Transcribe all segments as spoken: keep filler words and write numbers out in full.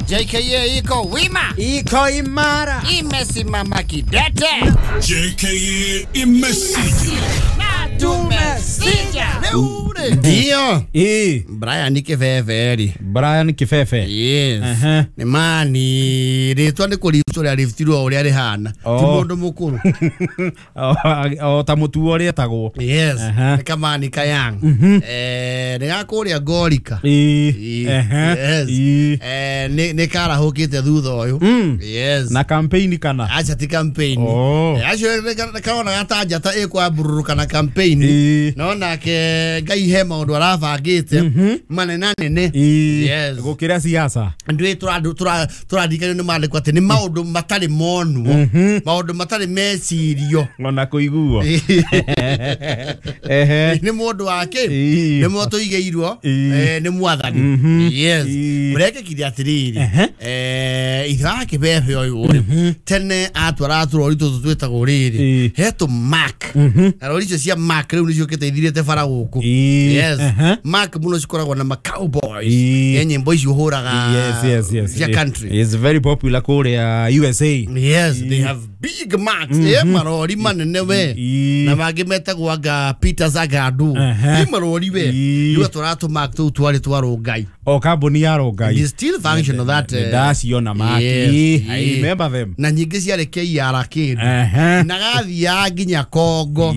J K A iko wima, iko imara, imesimama kidete. J K A imesija na tumesija. Ndio. Eh, Brian Kifefe. Brian Kifefe. Yes. Uh-huh. Ni mani ritwa ni kurifutwo ria riftirwo uria rihana. Oh. Ti mundu mukuru. O ta mutuo rietagwo. Yes. Uh-huh. Ni kamani kayang. Mm-hmm. Eh, ni gakuria ngorika. Eh. Yes. Eh, ni ni karahukite thutha uyu. Mm. Yes. Na campaign kana? Acha ti campaign. Oh. Acio karona gatanja ta ikwambururuka na campaign. Eh. No nake Ngai he maundu arabangite manena nene. Yes. Gukira siasa. Ndu tura turadikana ni mandiko ati ni maundu matari monwo, maundu matari mecirio ona kuiguo. Ehe. Ni mundu wake ni moto igeirwo eh ni mwathani. Yes. Murekekire atiriri eh itha kibebe uyu tene atwara turori tutu twetagwo riri hetu Mark na rori icio cia Mark riu nicio kiteithirite bara guku. Yes. Mark muno cikoragwo na ma cowboys. Ye nyimbo icio huraga. Yes, yes, yes. Cia country. It's very popular kuria U S A. Yes, they have big marks. Eh marori manene we. Na mangi metagwo anga Peter Zagadu. Ni marori we. Riu atwara Mark tu twari twa Rongai. O kambuni ya Rongai. It is still functional that. Ndaciona Mark. I remember them. Na nyingi ciarĩ K R K. Na gathiaga nginya Congo.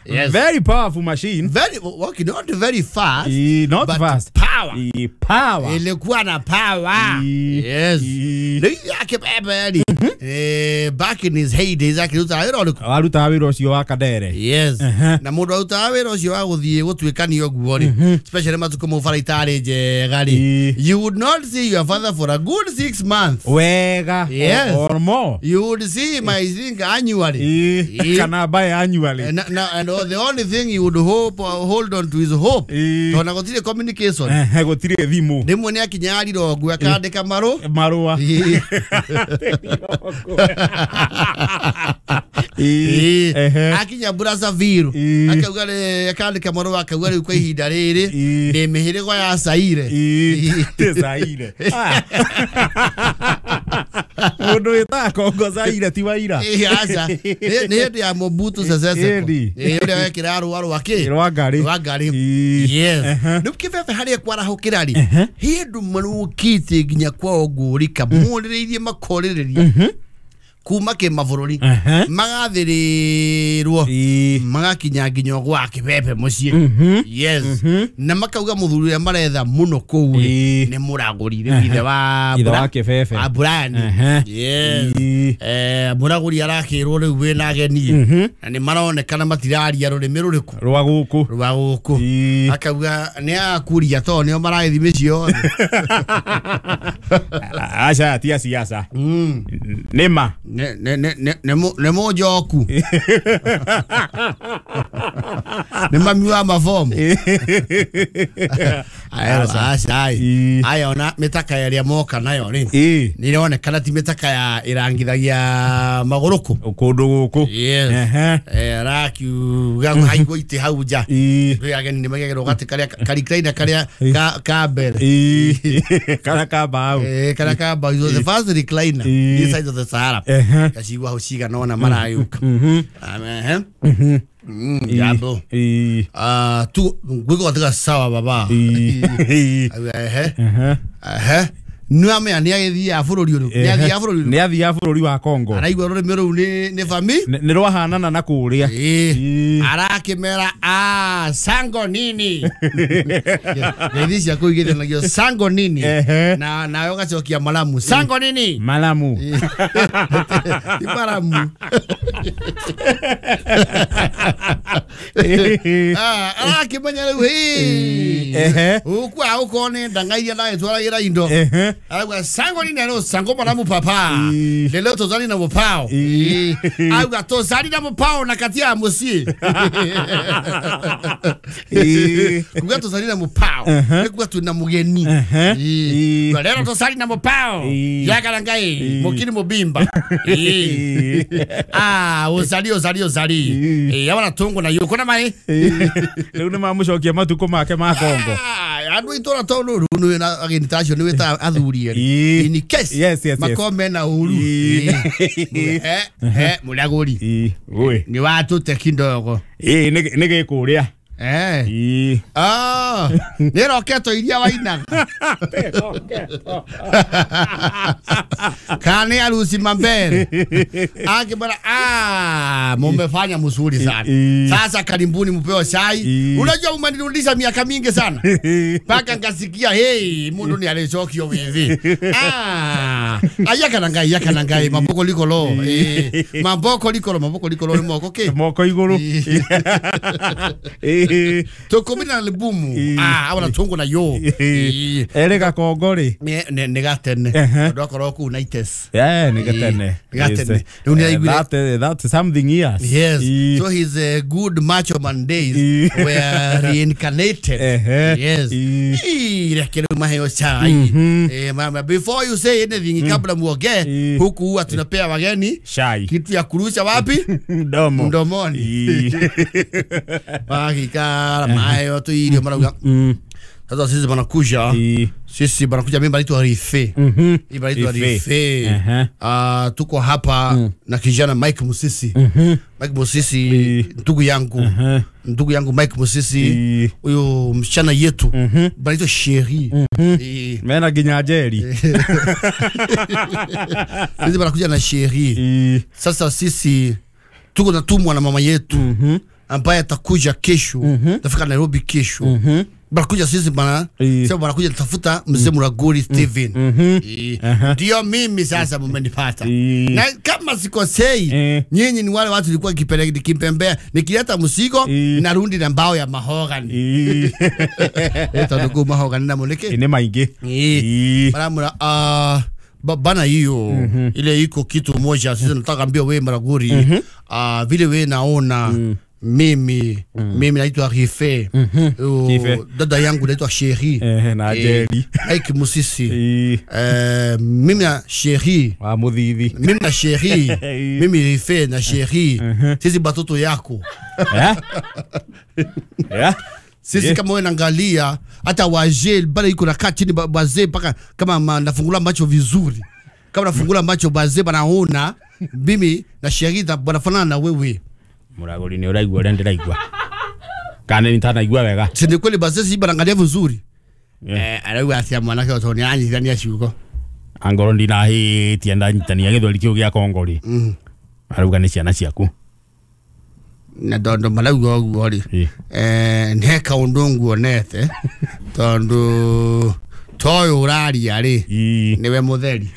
Yes. Very powerful machine. Very okay, not very fast. E, not but fast. Power. E, power. Ilikuwa na power. E, yes. E. Yake bebe eh back in his heydays akiruta wĩra ũrĩkũ? Arutaga wĩra ũcio wa Kadere. Yes. Uh-huh. Na mũndũ arutaga wĩra ũcio wa gũthiĩ gũtuĩkania ũguo rĩ, especially matukũ mau bara itarĩ njega rĩ, you would not see your father for a good six months. Wega. Yes. Or, or more. You would see him, I think, annually. E. Kana buy annually. And, na, and the only thing you would hope, hold on to is hope. Tondũ gũtirĩ communication. Eh, gũtirĩ thimũ. Rĩmwe nĩ akinya Rirongwe akandĩka marũ marũa. Akinya Brazzaville akauga akandĩka marũa akauga rĩu kwa ihinda rĩrĩ ndĩ mĩhĩrĩgo ya Zaire. Ti Zaire. Mũndũ wĩtaga Congo Zaire ti waira. Aca nĩ hĩndĩ ya Mobutu Sese Seko ũrĩa wekĩra rũa rwa kĩ rwa ngari rwa ngari. Yes. Rĩu kĩbebe harĩa kwarahũkĩra rĩ hĩndũ marũkĩte nginya kwao ngũrika morĩrĩirie makorĩrĩria kuma kĩmabũrũri magathĩrĩrwo magakinya nginya gwa kĩbebe mũciĩ. Yes. Na makauga mũthuri ũrĩa maretha mũno kũu rĩ nĩ mũragũri rĩu ithe wa ithe wa kĩbebe wa Brian. Yes. Eh mũragũri arakĩrwo rĩu wĩna ageni na nĩ maronekana matiraria rũrĩmĩ rũrĩkũ rwa gũkũ rwa gũkũ. Akauga nĩ akuria tondũ nĩo maragĩthiĩ mĩciĩ yothe. Aca tia siasa. Nĩ ma ne ne ne ne ne mojoku ne mami wa mafomu ayo ayo na mitaka yaria moka nayo ri ni ironekana ti mitaka ya irangithagia maguruku kundu guku. Yes. Eh rakiuga haigwo ite hau nja kwi ageni ni magegero gati karia karikraina karia ka mbere karia ka mbao eh karia ka mbao the first recliner this side of the Sahara kacigwa hau cigana ona marayuka. Amen. Mm, jambo. Ah, tu ngwiko katika sawa baba. Ehe. Ehe. Nĩ amenya nĩ agĩthiaga bũrũri ũrĩkũ? Nĩ athiaga bũrũri ũrĩkũ? Nĩ athiaga bũrũri wa Congo. Araigua rũrĩmĩ rũu nĩ nĩ fami? Nĩ rwahanana na kũrĩa. Arakĩmera ah sango nini. Ngeithi cia kũu igĩthanagio sango nini. Na nawe ũgacokia malamu. Sango nini? Malamu. Ti malamu. Ah, arakĩmenya rĩu hĩ. Ũkua ũkorwo nĩ ndanga iria ndagĩtwaragĩra indo. Auga sango nini alo sango malamu papa. Lelo tozali na mopao. Auga tozali na mopao na katia musi. Kuga tozali na mopao. Kuga tuna mugeni. Lelo tozali na mopao. Yaga ngai mokini mobimba. Ah, ozali ozali ozali. Eh, abana tongo na yuko na mai. Rĩu nĩ mamũcokia matukũ make ma Kongo. Ah, Andu itora tondu riu na ageni tacio ni wita athuri eri. In case yes yes makome na uru. Eh eh Muraguri. Oi. Ni watute kidogo. Eh ni gikuria. Eh. Ah, ni roketo iria wainaga. Kane arusi mambere. Akibara ah, mumefanya mzuri sana. Sasa karibuni mpewe chai. Unajua umenirudisha miaka mingi sana. Paka ngasikia hey, mundu ni alichokio hivi. Ah, ayaka nangai yaka nangai maboko likolo. Eh, maboko likolo maboko likolo moko ke. Moko iguru. Eh tukumina albumu ah abona tungo na yo ere gakongori ne ne gatene ndokorwo ku nights eh ne gatene gatene that that's something years. Yes, so his uh, good macho man days were reincarnated. Yes, ile maheo chai eh mama, before you say anything kabla muoge huku huwa tunapea wageni chai kitu ya kurusha wapi mdomo mdomoni Bakikara mayo tu irio marauga. Sasa sisi banakuja. Sisi banakuja mimi banaitwa Rife. Mhm. Banaitwa Rife. Ah, tuko hapa na kijana Mike Musisi. Mike Musisi ndugu yangu. Ndugu yangu Mike Musisi huyo msichana yetu banaitwa Sheri. Mena ginyajeri. Sisi banakuja na Sheri. Sasa sisi tuko natumwa na mama yetu. Ambaye atakuja kesho, mm -hmm. Tafika Nairobi kesho. Mm -hmm. Barakuja sisi bana, sasa barakuja tafuta mzee Muraguri Steven. Mm -hmm. Ndio mimi sasa mmenipata. Na kama sikosei, nyinyi ni wale watu nilikuwa nikipeleka nikimpembea, nikileta mzigo narundi na mbao ya mahogany. Eta ndugu mahogany na moneke. Ni maingi. Baramura ah bana hiyo mm -hmm. Ile iko kitu moja sisi nataka ambia wewe Muraguri mm -hmm. Ah vile wewe naona mm. Mimi mm. Mimi naitwa Rife. Mm -hmm. Dada yangu naitwa Sheri. Eh, na Jerry. Mike Musisi. Eh, mimi na Sheri. Wa Muthithi. Mimi na Sheri. Mimi Rife na Sheri. Sisi batoto yako. Eh? Eh? Sisi kama wewe naangalia hata wazee bado iko na kaa chini wazee mpaka kama nafungula macho vizuri. Kama nafungula macho wazee banaona mimi na Sheri banafanana na wewe. Muraguri ni uraigua uria ndiraigua kana ni tanaigua wega si ni kweli basi si barangalia vizuri eh arauga atia mwanake otoni anyithania ciugo angoro ndinahitie ndanyitania githweri kiu gia kongori arauga ni ciana ciaku na tondu marauga uguo ri eh ne kaundu nguonete tondu toyo uraria ri niwe mutheri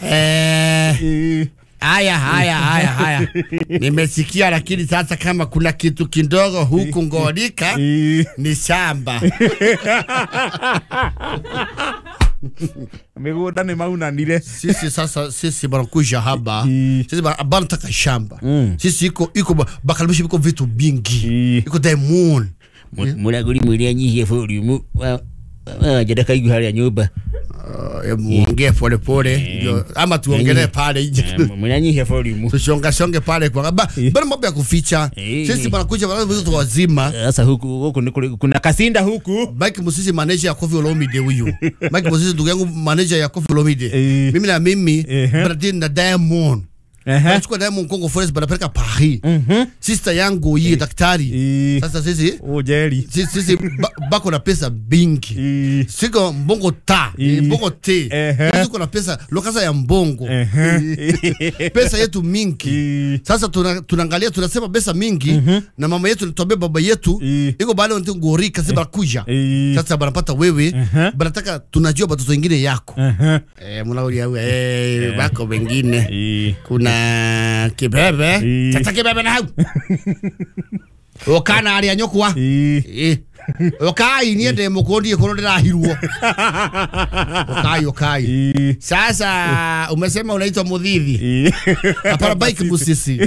eh Haya haya haya haya. Nimesikia lakini sasa kama kuna kitu kidogo huku Ngorika ni shamba. Migunda ni maunanire. Sisi sasa sisi banakuja hapa. Sisi banataka shamba. Sisi iko iko bakalibishi iko vitu bingi. Iko diamond. Muraguri mwire nyihie volume. Wa jadaka igu hali ya nyumba. Muongee pole pole ndio ama tuongelee pale nje. Mnanyihia volume. Tushonga shonge pale kwa bado mambo ya kuficha. Sisi banakuja watu wazima. Sasa huku huku kuna kasinda huku. Mike Musisi manager ya Koffi Olomide huyu. Mike Musisi ndugu yangu manager ya Koffi Olomide. Mimi na mimi Bradin na Diamond. Nachukua Diamond Congo Forest banapeleka Paris. Sister yangu hii daktari. Sasa sisi ujeri. Sisi sisi bako na pesa bingi. Siko mbongo ta, mbongo te. Siko na pesa lokasa ya mbongo. Pesa yetu mingi. Sasa tunaangalia tunasema pesa mingi na mama yetu tuambie baba yetu iko bado ndio ngorika sisi barakuja. Sasa banapata wewe banataka tunajua watoto wengine yako. Eh mnaolia eh bako wengine. Kuna kibebe tata kibebe na hau okana aria nyokwa eh okai nie ndĩ mũkũndie kũrũ ndĩrahirwo okai okai sasa umesema unaitwa Muthithi hapana Bike Musisi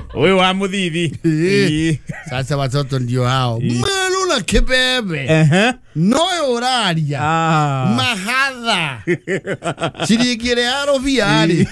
huyu wa Muthithi sasa watoto ndio hao melo Wona kibebe Ehe. Noyo uraria Ah. Mahatha ciringi ĩrĩa ya rũbia-rĩ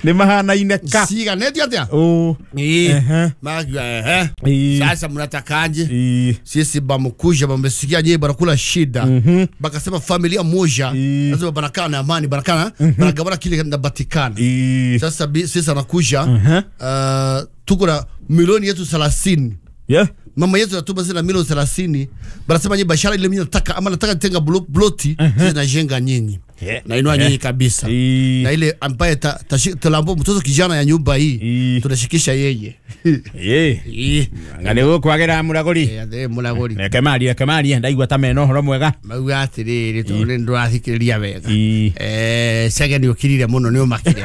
Nĩ mahanaine ka. ciiganĩtio atĩa Oh. Ĩĩ. Ehe. Makiuga ehe Ĩĩ. sasa mnatakaje Ĩĩ. sisi bamukuja bamesikia nyie banakula shida Mhm. bakasema familia moja Ĩĩ. lazima banakaa na amani banakaa banagabana kile kinapatikana Ĩĩ. sasa bi- sisi anakuja Mhm. uh, tuko na milioni yetu thelathini Yeah. mama yetu natuma zina milioni thelathini banasema nyie bashara ile mimi nataka ama nataka tenga blo- bloti sisi najenga nyinyi Yeah. na inua nyinyi kabisa Ĩĩ. na ile ambaye ta, ta, talambo mtoto kijana ya nyumba hii Ĩĩ. tunashikisha yeye Ĩĩ. Ĩĩ. Nga nĩ gũkwagĩra mũragũri. Eh, atĩ mũragũri Reke marie, reke marie, ndaigua ta mena ũhoro mwega. mauga atĩrĩrĩ tondũ nĩ ndũrathikĩrĩria wega Ĩĩ. Eh, cege nĩ ũkirire mũno nĩ ũmakire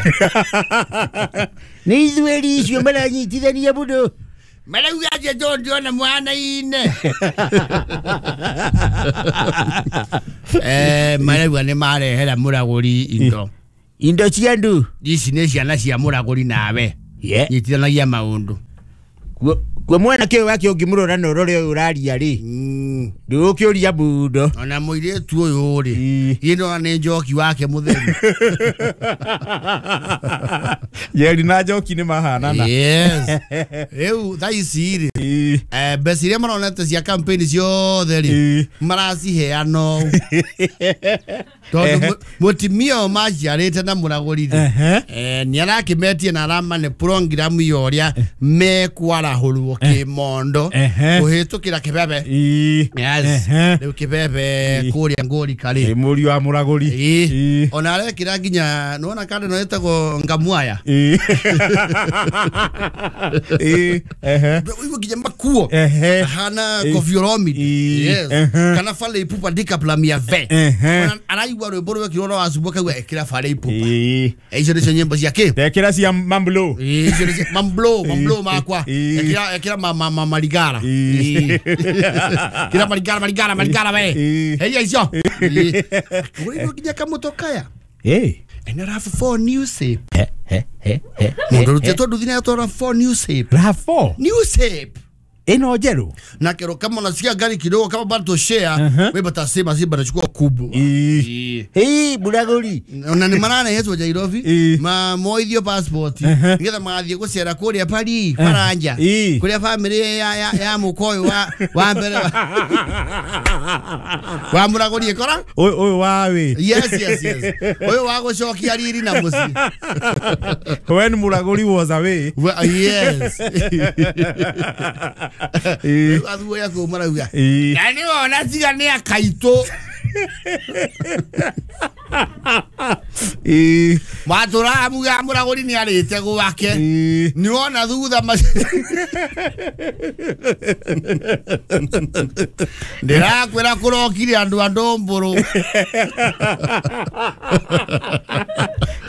Nĩ ithueri icio maranyitithania mũno marauga atĩ tondũ ndĩrona mwana-inĩ Eh, marauga nĩ marehera mũragũri indo indo cia andũ ici nĩ ciana cia mũragũri nawe Yeah. nyitithanagia maũndũ Kuo- kuo mwanake ũyũ wake ũngĩmũrora na ũrore ũyũ ũraria rĩ Mm. ndũgũkĩũria mũno ona mũirĩtu ũyũ rĩ Ĩĩ. ĩ ndona nĩ njoki wake mũtheri Njeri na Njoki nĩ mahanana. yes rĩu thaa ici rĩ Ĩĩ. eh, mbeca iria maronete cia campaign ciothe rĩ Ĩĩ. maraciheana ũũ. Tondũ mu- mũtumia ũyũ maciarĩte na mũragũri rĩ Ehe. eh, nĩ arakĩmetie na aramane programu ya ũrĩa mekwarahũrwo kĩmondo Ehe. kũhĩtũkĩra kĩbebe Ĩĩ. yes Ehe. rĩu kĩbebe kũrĩa ngũrika rĩ Ĩ mũriũ wa mũragũri. Ĩĩ. Ĩĩ. ona arekĩra nginya nĩwona kanda ĩno ĩtagwo ngamuaya Ĩĩ. Ĩĩ. Ehe. Ũguo nginya makuo Ehe. ahana Ĩĩ. Koffi Olomide Ĩĩ. yes Ehe. kana Fally Ipupa ndikaplamia ve Ehe. Ona araigua rwĩmbo rwekirwo rwa Wacumbwa akauga ĩkĩra Fally Ipupa Ĩĩ. icio nĩcio nyĩmbo cia kĩ Ndekĩra cia Mamblo. Ĩĩ, icio nĩcio mamblo mamblo makwa Ĩĩ. ĩkĩra ĩkĩra ma- ma- ma- marigara Ĩĩ. kĩra marigara marigara marigara we Ĩĩ. heia icio Ĩĩ. Kũrĩirwo nginya kamũtokaya Ĩĩ. ena R A V four new shape He, he, he, he, mũndũ ũrutĩtwo nduthi na R A V four new shape R A V four. new shape Ĩno njerũ. na kero kama unasikia gari kidogo kama bado share Uh-huh. wewe batasema si banachukua kubwa Ĩĩ. Ĩĩ, mũragũri na nĩ mararehetwo Nairobi Ĩĩ. ma moithio passport Uh-huh. nigetha magathiĩ gũcera kũrĩa Paris Faranja Ĩĩ. kũrĩa family ya ya, ya mũka ũyũ wa wa mbere wa, wa mũragũri ĩkora Ũyũ ũyũ wa wĩ. yes yes yes ũyũ wa gũcokia riri na mũciĩ When mũragũri was away. Well, yes Ĩĩ. Rĩu athuuri a kũu marauga Ĩĩ. na nĩ wona tiga nĩ akaitũ Ĩĩ. matũraga muga mũragũri nĩ arĩte gwake Ĩĩ. nĩ wona thutha ma ndĩrakwĩra kũrokire andũ a ndũmbũrũ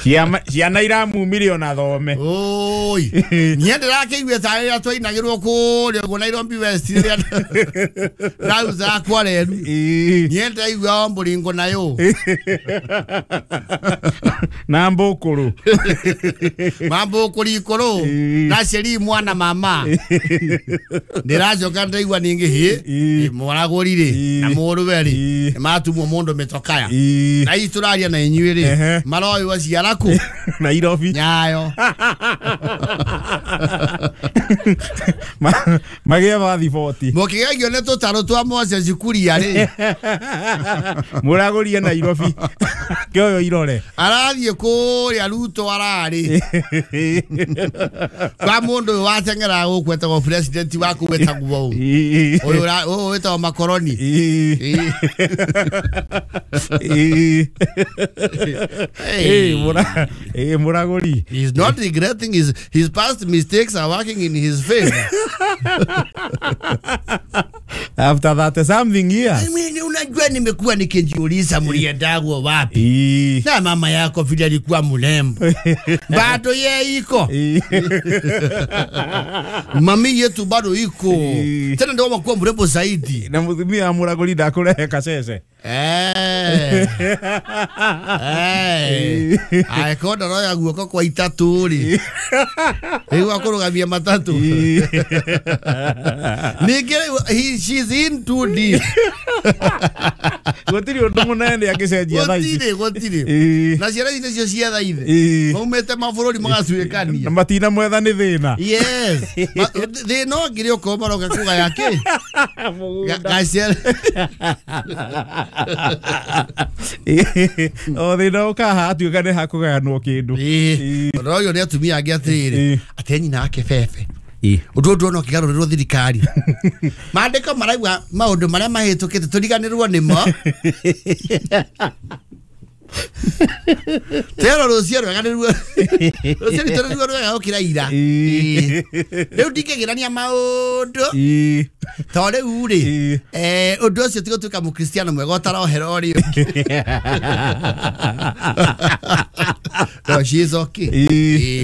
Ciama- Ciana iramumire ona thome. oi niĩ ndĩrakĩigue ta rĩrĩa twainagĩrwo kũrĩa ũguo Nairobi West rĩrĩa ndauzaga kwa reru Ĩĩ. niĩ ndĩraigua o mbũringo nayo Na mbũkũrũ. mambũkũri ikũrũ Ĩĩ. na ceri mwana mama ndĩracoka ndĩraigua ningĩ hĩ Ĩĩ. mũragũri rĩ Ĩĩ. na mũrũwe rĩ Ĩĩ. nĩ matumwo mũndũ mĩtokaya Ĩĩ. na hihi tũraria na inyuĩ rĩ Ehe. maroywo ciara kũ Nairobi. nyayo Ma- Magĩe bathiboti. mũkĩgegio nĩ tũtarũ twa Moses Kuria rĩ Mũragũri e Nairobi. Kĩoyo irore. arathiĩ kũrĩa Ruto ararĩ kwa mũndũ ũyũ wateng'eraga gũkũ etagwo president waku wĩtagwo ũ Ĩĩ. ũyũ ũra- ũyũ wĩtagwo Makoroni Ĩĩ. Ĩĩ. Ĩĩ. Hey. Ĩĩ, mũra- ĩĩ, mũragũri. He's not regretting his his past mistakes are working in his favor. After that something years. I mean, unajua nimekuwa nikijiuliza mliendagwo wapi? Ĩĩ. Na mama yako vile alikuwa mrembo. Bado ye iko. Ĩĩ. Mami yetu bado iko. Ĩĩ. Tena ndio wakuwa mrembo zaidi. Na mũtumia wa mũragũri ndakũrehe kacece. Eh. Eh angĩkorwo ndaroya guoko kwa itatu rĩ rĩu akũrũgamia matatũ ningĩ rĩu she's in too deep gũtirĩ ũndũ mũnene angĩcenjia thaa ici gũtirĩ gũtirĩ na ciana ici nĩcio cietha ithe maumĩte mabũrũri magacuĩkania na matina mwetha nĩ thĩna yes thĩna ũngĩ ũkorwo maroka kũgaya kĩ gaciara o thĩna ũkaha atuĩka nĩ hakũgayanwo kĩndũ ũndũ ũyũ nĩ atumia angĩ atĩrĩrĩ atĩ nyina ake bebe ũndũ ũndũ ona ũkĩgarũrĩrwo thirikari maandĩko marauga maũndũ marĩa mahĩtũkĩte tũriganĩrwo nĩmo tero rũciũ rwega nĩruo rũciũ rwitũ nĩruo rwega gũkĩra ira rĩu ndingĩgĩrania maũndũ to rĩu rĩ ũndũ ũcio ti gũtuĩka mũkristiano mwega ũtarohera ũrĩa ũngĩ no she is okay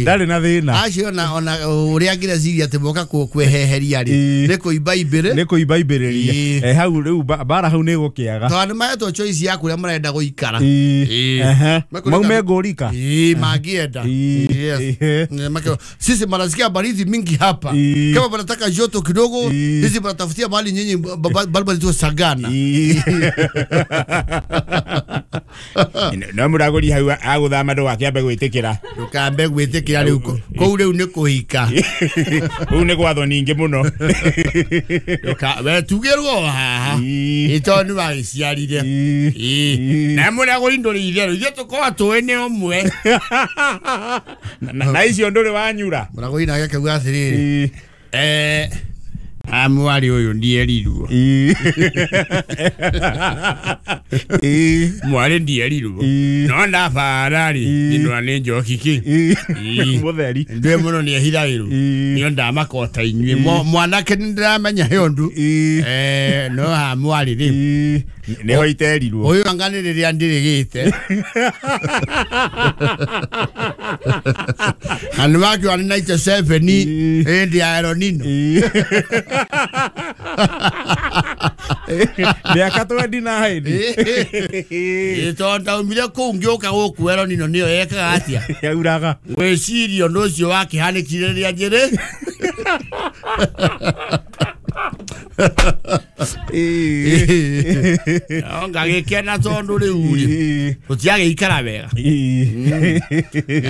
ndarĩ na thĩna acio ona ona ũrĩa angĩreciria atĩ moka kweheheria rĩ nĩ kũimba imbĩrĩ nĩ kũimba imbĩrĩria hau rĩu mbara hau nĩ gũkĩaga tondũ nĩ mahetwo choice ya kũrĩa marenda gũikara maume ngũrika mangĩenda sisi manasikia baridi mingi hapa kama wanataka joto kidogo sisi wanatafutia mahali nyinyi bali tu sagana no mũragũri hau agũthama ndũgakĩambe gwĩtĩkĩra ndũkambe gwĩtĩkĩra rĩu kũu rĩu nĩ kũhika kũu nĩ gwathwo ningĩ mũno we tugĩrwo haha ĩ tondũ nĩ wagĩciarire na mũragũri ndũrĩ itherũ ithuĩ tũkorwo tũĩ nĩ ũmwe na icio ndũrĩ wanyura mũragũri nake akauga atĩrĩrĩ eh amwari ũyũ ndierirwo mwarĩ ndierirwo no ndabara rĩ nĩndona nĩ njoki kĩ mũtheri ndwĩ mũno nĩ ehithagĩrwo nĩo ndamakota inyuĩ mwanake nĩ ndĩramenya he ũndũ no ha mwarĩ rĩ nĩho iterirwo ũyũ anga nĩ rĩrĩa ndĩrĩgĩte na nĩ wakiuga nĩ ninety seven ĩndĩ ya El Nino mĩaka twenty nine tondũ ndaumire kũu ngĩũka gũkũ El Nino nĩyo yekaga atĩa yauraga gwĩciria ũndũ ũcio wakĩhanĩkire rĩrĩa njĩrĩ ngagĩkena tondũ rĩu rĩ tũtiagĩikara wega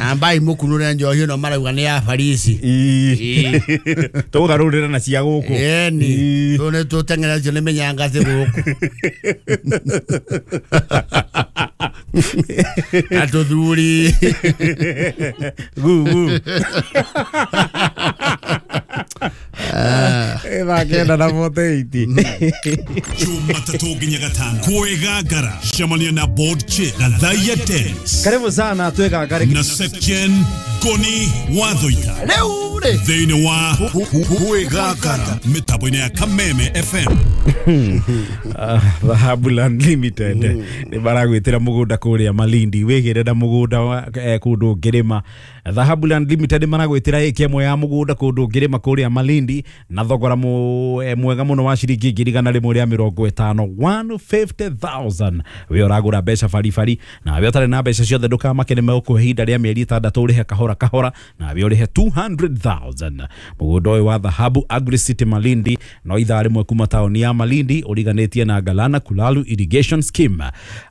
ambai mũkunũre njohi ĩno marauga nĩ ya Farisi tũgarũrĩra na cia gũkũ ĩni tũ nĩ tũteng'eretio nĩ mĩnyangathĩ gũkũ na tũthuri gugu thaa kenda na forty eight Jumatatu nginya gatano kwĩgangara cemania na board chair Gathaiya Dennis karibu sana twĩgangare na Section Ngoni Wathoita rĩu rĩ thĩinĩ wa kwĩgangara mĩtambo-inĩ ya Kameme F M Dhahabu Land Limited nĩ maragwĩtĩra mũgũnda kũrĩa Malindi wĩgĩre na mũgũnda kũndũ ũngĩrĩma Dhahabu Land Limited maragwĩtĩra ĩka ĩmwe ya mũgũnda kũndũ ũngĩrĩma kũrĩa Malindi na thogora mwega mũno wa ciringi ngiri igana rĩmwe rĩa mĩrongo ĩtano one fifty thousand we ũragũra mbeca baribari na we ũtarĩ na mbeca ciothe ndũkamake nĩ megũkũhe ihinda rĩa mĩeri ĩtandatũ ũrĩhe kahora kahora na we ũrĩhe two hundred thousand mũgũnda ũyũ wa Dhahabu Agri City Malindi no ithaa rĩmwe kuma taũni ya Malindi ũriganĩtie na Galana Kulalu Irrigation Scheme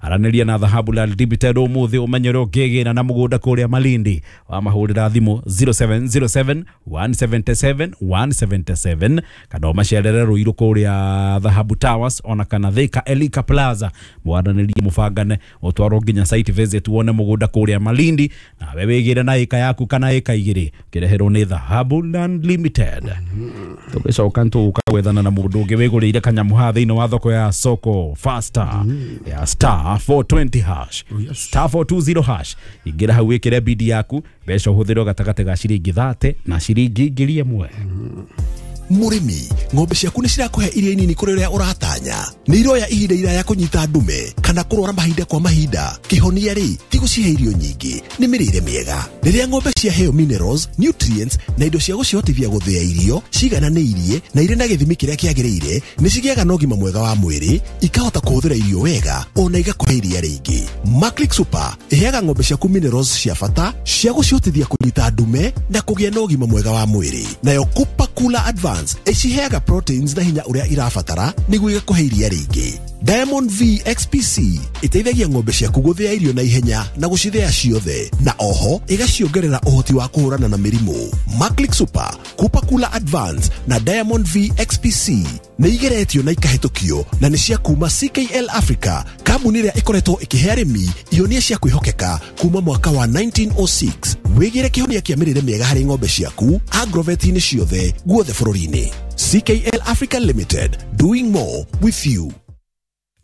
aranĩria na Dhahabu Land Limited ũmũthĩ ũmenye ũrĩa ũngĩgĩra na mũgũnda kũrĩa Malindi wamahũrĩra thimũ zero seven zero seven one seven seven one seven seven kana ũmacerere Ruiru kũrĩa Dhahabu Towers ona kana Thika Elika Plaza mwaranĩrie mũbangane ũtwarwo nginya site visit wone mũgũnda kũrĩa Malindi nawe wĩgĩre na ĩka yaku kana ĩka igĩrĩ ũkĩreherwo nĩ Dhahabu Land Limited tũgĩcoka tũgũka gwethana na mũndũ ũngĩ wĩgũrĩire kanyamũ haha thĩinĩ wa thoko ya soko faster ya star four twenty hash star four two zero hash ingĩra hau wĩkĩre bidi yaku mbeca ũhũthĩrwo gatagatĩ ga ciringi thate na ciringi ngiri ĩmwe. Mũrĩmi, ng'ombe ciaku nĩ cirakũhe iria nini kũrĩ ũrĩa ũratanya? Nĩ iroya ihinda iraya kũnyita ndume kana kũrwara mahinda kwa mahinda? Kĩhonia rĩ, ti gũcihe irio nyingĩ, nĩ mĩrĩre mĩega. Rĩrĩa ng'ombe ciaheo minerals, nutrients na indo cia gũcihotithia gũthĩa irio cigananĩirie na irĩ na gĩthimi kĩrĩa kĩagĩrĩire, nĩ cigĩaga na ũgima mwega wa mwĩrĩ, ikahota kũhũthĩra irio wega ona igakũhe iria rĩingĩ. Maclick Super ĩheaga ng'ombe ciaku minerals cia bata cia gũcihotithia kũnyita ndume na kũgĩa na ũgima mwega wa mwĩrĩ. Nayo Cooper Cooler Advance ĩciheaga proteins na hinya ũrĩa irabatara nĩguo igakũhe iria rĩingĩ. Diamond V X P C ĩteithagia ng'ombe ciaku gũthĩa irio na ihenya na gũcithĩa ciothe, na oho ĩgaciongerera ũhoti wa kũhũrana na mĩrimũ. Maclick Super, Cooper Cooler Advance na Diamond V X P C nĩ igeretio na ikahĩtũkio na nĩ cia kuma C K L Africa, kambuni ĩrĩa ĩkoretwo ĩkĩhe arĩmi ihonia cia kwĩhokeka kuma mwaka wa nineteen oh six. Wĩgĩre kĩhonia kĩa mĩrĩre mĩega harĩ ng'ombe ciaku agrovet-inĩ ciothe guothe bũrũri-inĩ. C K L Africa Limited, doing more with you.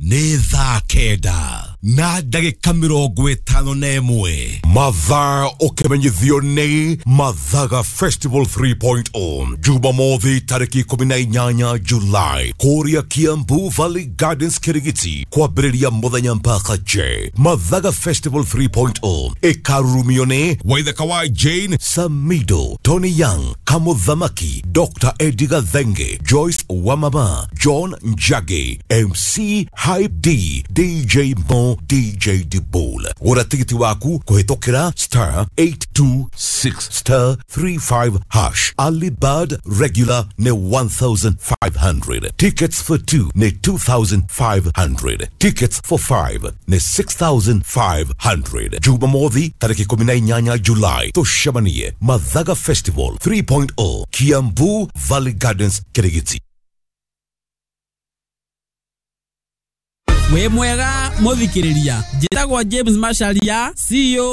Nĩ thaa kenda na ndagĩka mĩrongo ĩtano na ĩmwe. Mathaa ũkĩmenyithio nĩ Mathaga Festival three point oh Jumamothi tarĩki ikũmi na inyanya July kũrĩa Kiambu Valley Gardens Kirigiti, kwambĩrĩria mũthenya mpaka J. Mathaga Festival three point oh ĩkarurumio nĩ Waithaka wa Jane Samido, Tony Young, Kamuthamaki, Doctor Eddie Gathenge, Joyce Wamama, John Njagi, M C Hype D, D J Mo, D J Dibol. Gũra tigiti waku kũhĩtũkĩra star eight two six star three five hash. Early bird regular nĩ one thousand five hundred. Tickets for two nĩ two thousand five hundred. Tickets for five nĩ six thousand five hundred. Jumamothi tarĩki ikũmi na inyanya July tũcemanie Mathaga Festival three point oh Kiambu Valley Gardens Kirigiti. Wĩ mwega mũthikĩrĩria, njĩtagwo James Macharia, C E O.